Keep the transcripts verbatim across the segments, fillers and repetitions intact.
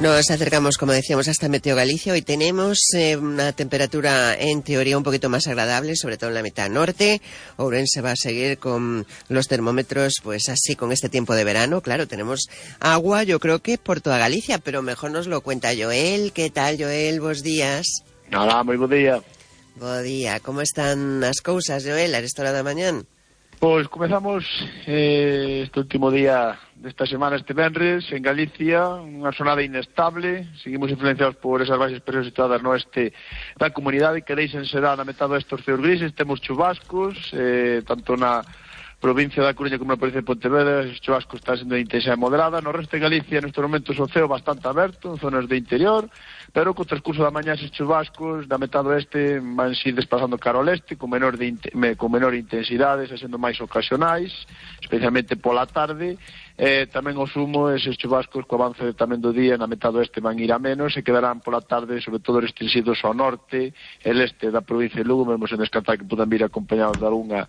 Nos acercamos, como decíamos, hasta Meteo Galicia. Hoy tenemos eh, una temperatura en teoría un poquito más agradable, sobre todo en la mitad norte. Ourense va a seguir con los termómetros, pues así, con este tiempo de verano. Claro, tenemos agua, yo creo que por toda Galicia, pero mejor nos lo cuenta Joel. ¿Qué tal, Joel? Bos días. Hola, moi bo día. Bo día. Como están as cousas, Joel, a esta hora da mañán? Pois comezamos eh, este último día desta semana, este venres, en Galicia, unha xornada inestable. Seguimos influenciados por esas baixas presións situadas no oeste da comunidade, que deixen será na metade destes ceos grises. Temos chubascos, eh, tanto na provincia da Coruña como na provincia de Pontevedra. Os chubascos están sendo de intensidade moderada. No resto de Galicia, nestes momentos, o ceo bastante aberto, en zonas de interior, pero co transcurso da mañá eses chubascos da metade oeste van ir desplazando cara ao leste con menor, de, con menor intensidade, sendo máis ocasionais, especialmente pola tarde. Eh, tamén o sumo, eses chubascos co avance tamén do día na metade oeste van ir a menos e quedarán pola tarde sobre todo restringidos ao norte e leste da provincia de Lugo, mesmo sen descartar que podan vir acompañados de algunha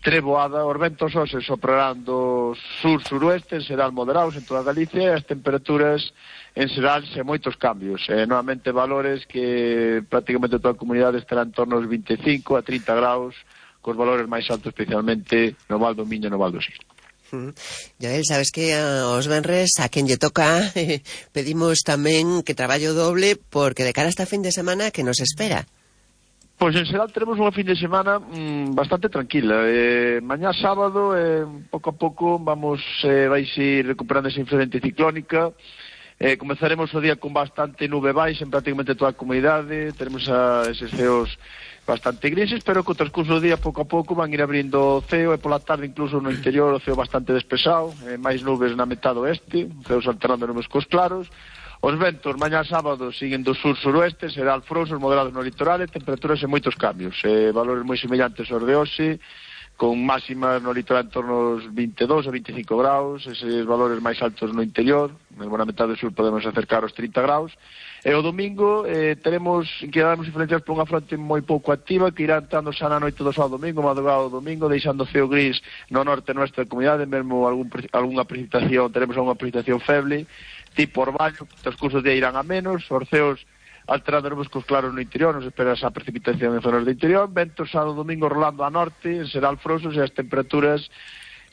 treboada. Os ventos hoxe soprarán do sur-suroeste, en xeral moderados en toda Galicia, e as temperaturas en xeral sen moitos cambios, eh, novamente valores que prácticamente toda a comunidade estará en torno aos vinte e cinco a trinta graus, cos valores máis altos especialmente no Val do Miño e no Val do Sil. Mm. Joel, sabes que aos venres a quen lle toca eh, pedimos tamén que traballo doble, porque de cara a esta fin de semana que nos espera. Pois en xeral teremos unha fin de semana mmm, bastante tranquila. Eh, mañá sábado, eh, pouco a pouco vamos eh, vais ir recuperando esa influencia ciclónica. Eh, comezaremos o día con bastante nube baixa en prácticamente toda a comunidade. Teremos a eses ceos bastante grises, pero co transcurso do día pouco a pouco van ir abrindo o ceo, e pola tarde incluso no interior o ceo bastante despexado, eh, máis nubes na metade oeste, ceos alternando nubes cos claros. Os ventos mañá sábado siguen do sur-suroeste, será alfrouxos moderados no litoral e temperaturas en moitos cambios, eh, valores moi semellantes aos de hoxe, con máximas no litoral en torno aos vinte e dous a vinte e cinco graus, eses valores máis altos no interior, mesmo na metade sur podemos acercar aos trinta graus. E o domingo eh, teremos, quedaremos influenciados por unha fronte moi pouco activa que irá entrando xa na noite do sábado domingo, madrugado do domingo, deixando o ceo gris no norte nuestra comunidade, mesmo algún, algunha precipitación, teremos algunha precipitación feble, tipo orvallo, que transcurso de día irán a menos, os ceos alterando nubes cos claros no interior, nos espera esa precipitación en zonas de interior, ventos sábado domingo rolando a norte, será alfrouxos e as temperaturas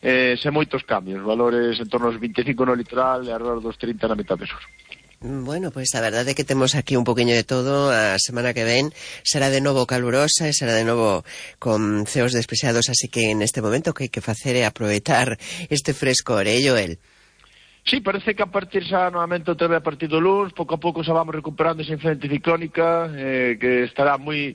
eh, sen moitos cambios, valores en torno aos vinte e cinco no litoral e alrededor dos trinta na metade sur. Bueno, pois pues a verdade é que temos aquí un poquinho de todo. A semana que ven será de novo calurosa e será de novo con ceos despreciados, así que en este momento que hai que facer é aproveitar este frescor, eh, Joel? Sí, parece que a partir xa novamente outra vez a partir do luns, pouco a pouco xa vamos recuperando esa influencia ciclónica, eh, que estará moi...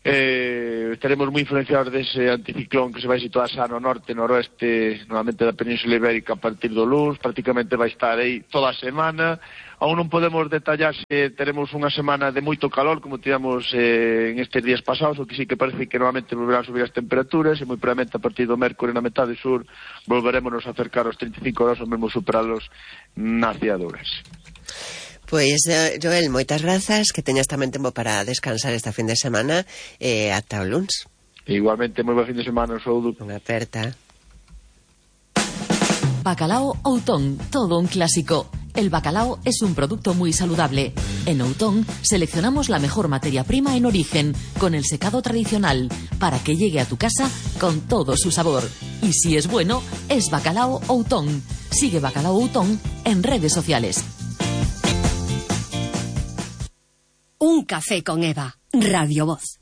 Eh, estaremos moi influenciados dese anticiclón que se vai situar xa no norte, noroeste, novamente da Península Ibérica a partir do luns, prácticamente vai estar aí toda a semana. Aún non podemos detallar se teremos unha semana de moito calor, como tivemos eh, en estes días pasados, o que sí que parece que novamente volverán a subir as temperaturas, e moi probablemente a partir do mércore na metade sur volveremos a acercar aos trinta e cinco graus, ou mesmo superalos na cidade de Ourense. Pois, pues, Joel, moitas grazas, que teñas tamén tempo para descansar esta fin de semana, e eh, ata o luns. Igualmente, moi bo fin de semana, saúdo. Unha aperta. Bacalao Outón, todo un clásico. El bacalao es un producto muy saludable. En Outón seleccionamos la mejor materia prima en origen, con el secado tradicional, para que llegue a tu casa con todo su sabor. Y si es bueno, es Bacalao Outón. Sigue Bacalao Outón en redes sociales. Un café con Eva, Radio Voz.